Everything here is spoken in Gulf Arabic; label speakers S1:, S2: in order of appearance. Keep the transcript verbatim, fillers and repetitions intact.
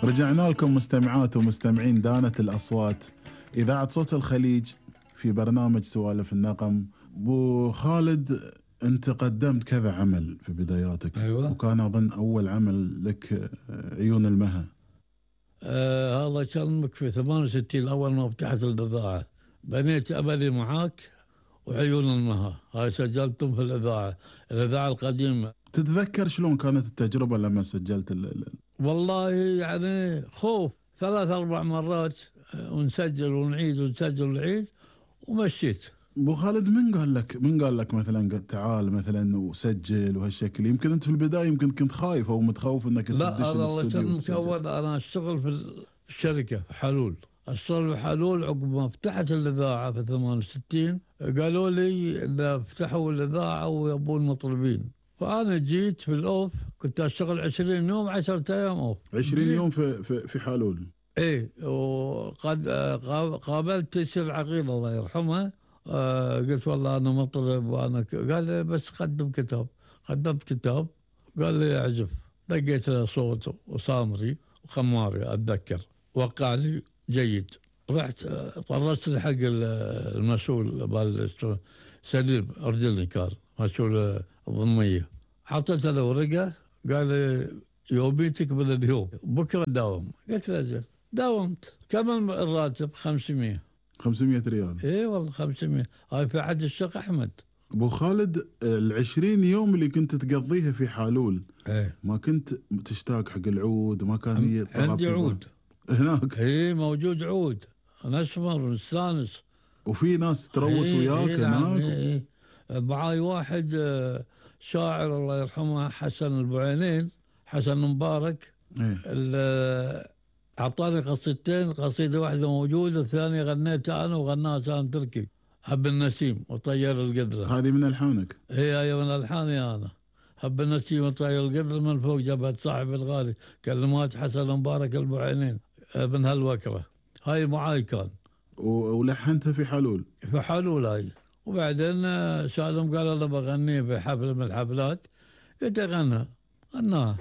S1: رجعنا لكم مستمعات ومستمعين دانة الأصوات، إذاعة صوت الخليج، في برنامج سوالف النغم. أبو خالد، أنت قدمت كذا عمل في بداياتك.
S2: أيوة.
S1: وكان أظن أول عمل لك عيون المها.
S2: آه هذا كان في ثمانية وستين أول ما فتحت الإذاعة، بنيت أملي معاك وعيون المها، هاي سجلتهم في الإذاعة الإذاعة القديمة.
S1: تتذكر شلون كانت التجربة لما سجلت ال
S2: والله يعني خوف، ثلاث أربع مرات ونسجل ونعيد ونسجل ونعيد ومشيت.
S1: أبو خالد، من قال لك من قال لك مثلا تعال مثلا وسجل وهالشكل؟ يمكن أنت في البداية يمكن كنت خايف أو متخوف أنك تدش
S2: لا أنا
S1: الاستوديو.
S2: كنت متعود، أنا أشتغل في الشركة في حلول، أشتغل في حلول. عقب ما فتحت الإذاعة في ثمانية وستين قالوا لي إن فتحوا الإذاعة ويبون مطربين، فأنا جيت في الأوف، كنت أشتغل عشرين يوم عشرة أيام أوف.
S1: عشرين يوم في في, في حلول.
S2: إيه، وقد قابلت تيسير عقيل الله يرحمها. آه قلت والله أنا مطرب وأنا ك... قال لي بس قدم كتاب. قدمت كتاب، قال لي يعجب. لقيت له صوت وسامري وخماري أتذكر، وقع لي جيد. رحت طرشت لحق المسؤول بال سليم أرجلني، كان مسؤول الضمية. حطيت له ورقة، قال لي يوميتك من اليوم، بكرة داوم. قلت له أجل. داومت. كم الراتب؟ خمسمية.
S1: خمسمية ريال.
S2: ايه والله خمسمية. هاي في عهد الشيخ أحمد.
S1: أبو خالد، العشرين يوم اللي كنت تقضيها في حالول،
S2: ايه،
S1: ما كنت تشتاق حق العود؟ ما كان هي
S2: عندي عود
S1: هناك؟
S2: ايه موجود عود، نسمر ونستانس.
S1: وفي ناس تروس
S2: إيه
S1: وياك
S2: إيه
S1: هناك؟
S2: ايه ايه. معاي واحد شاعر الله يرحمه، حسن البعينين، حسن مبارك.
S1: ايه.
S2: أعطاني قصيدتين، قصيدة واحدة موجودة، الثانية غنيتها أنا وغناها سام تركي، هب النسيم وطير القدرة.
S1: هذه من ألحانك؟
S2: هي هي من ألحاني أنا. هب النسيم وطير القدرة من فوق جبهة صاحب الغالي، كلمات حسن مبارك البعينين من هالوكرة. هاي معاي كان.
S1: ولحنتها في حلول؟
S2: في حلول هاي. وبعدين سالم قال أنا بغنيه في حفل من الحفلات، قلت أغنى غناها.